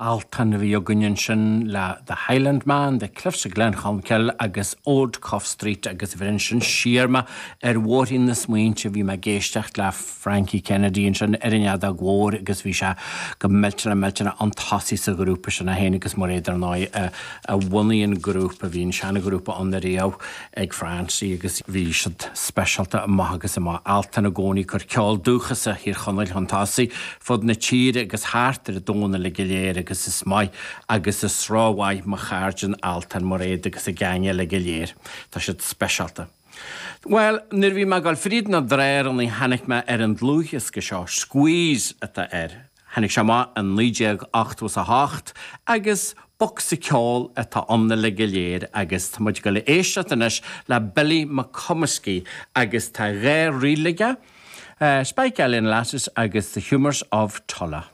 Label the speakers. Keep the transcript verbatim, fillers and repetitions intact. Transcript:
Speaker 1: Altan a bhí againn ansin le The Highlandman, The Cliffs of Glencolmcille agus Old Cuff Street agus bhí sin siar mé ar bhóithrín na smaointe bhí mé ag éisteacht le Frankie Kennedy ansin ar an fheadóg mhór agus bhí sé go millteanach millteanach an tosaí sa ghrúpa sin a féin agus Mairéad ar ndóigh a bhunaigh an grúpa bhí an seanghrúpa ann ariamh ag Francie agus bhí siad speisialta amach agus amach Altan i gcónaí ag cur ceol dúchasach Thír Chonaill chun tosaigh fud na tíre agus thart ar an domhan uilig go léir agus is maith agus is rómhaith mo chairde in Altan Mairéad agus a geaing eile go léir. Tá siad speisialta. Well, nuair bhí mé ag dul fríd na dráranna tháinig mé ar an dlúthdhiosca seo, Squeeze atá air. Tháinig sé amach in naoi déag ochtó a hocht agus bocsa ceoil atá ann uilig go léir agus tá muid ag dul a éisteacht anois le Billy McComiskey agus tá dhá ríl aige, uh, Spike Island Lasses agus The Humours of Tulla.